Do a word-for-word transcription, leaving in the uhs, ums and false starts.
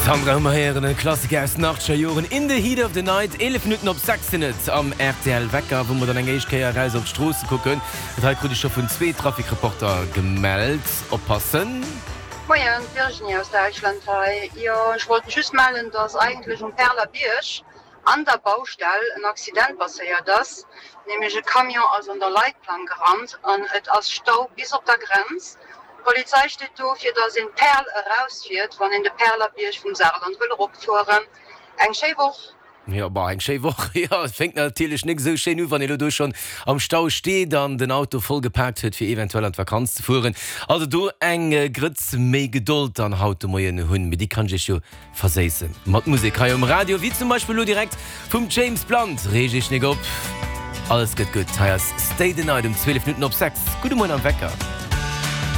Sandra hu mer héieren, e Klassiker aus den achtzeger Joren, In the Heat of the Night. Eelef Minutten op sechs sinn et am rtl Wecker, wou mer dann eng éischt Kéier eraus op d'Stroosse kucken. Dat hei krut ech scho vun zwee Trafikreporter gemellt. Oppassen! Moien, d'Virginie aus Däitschland hei. Jo, ech wollt mech just mellen, dass eigentlech um Perlerbierg an der Baustell en Accident passéiert ass, nämlech e Camion ass an der Leitplank gerannt an et ass Stau bis op der Grenz. D'Polizei steet do, fir dass een d'Perl erausfiert, wann een de Perlerbierg vum Saarland wëll eropfueren. Eng schéi Woch! Jo, bah, eng schéi Woch, jo. Et fänkt natierlech nik esou schéin u, wann ee lo do schonn am Stau steet an den Auto voll gepaakt huet, fir eventuell an d'Vakanz ze fueren. Also do eng Grëtz méi Gedold dann haut de Moien hunn, mee déi kann ech iech jo verséissen mat Musek hei um Radio, wéi zum Beispill lo direkt vum James Blunt. Reeg iech nik op, alles gëtt gutt. Hei ass Stay the Night um zwielef Minutten op sechs. Gudde Moien am Wecker.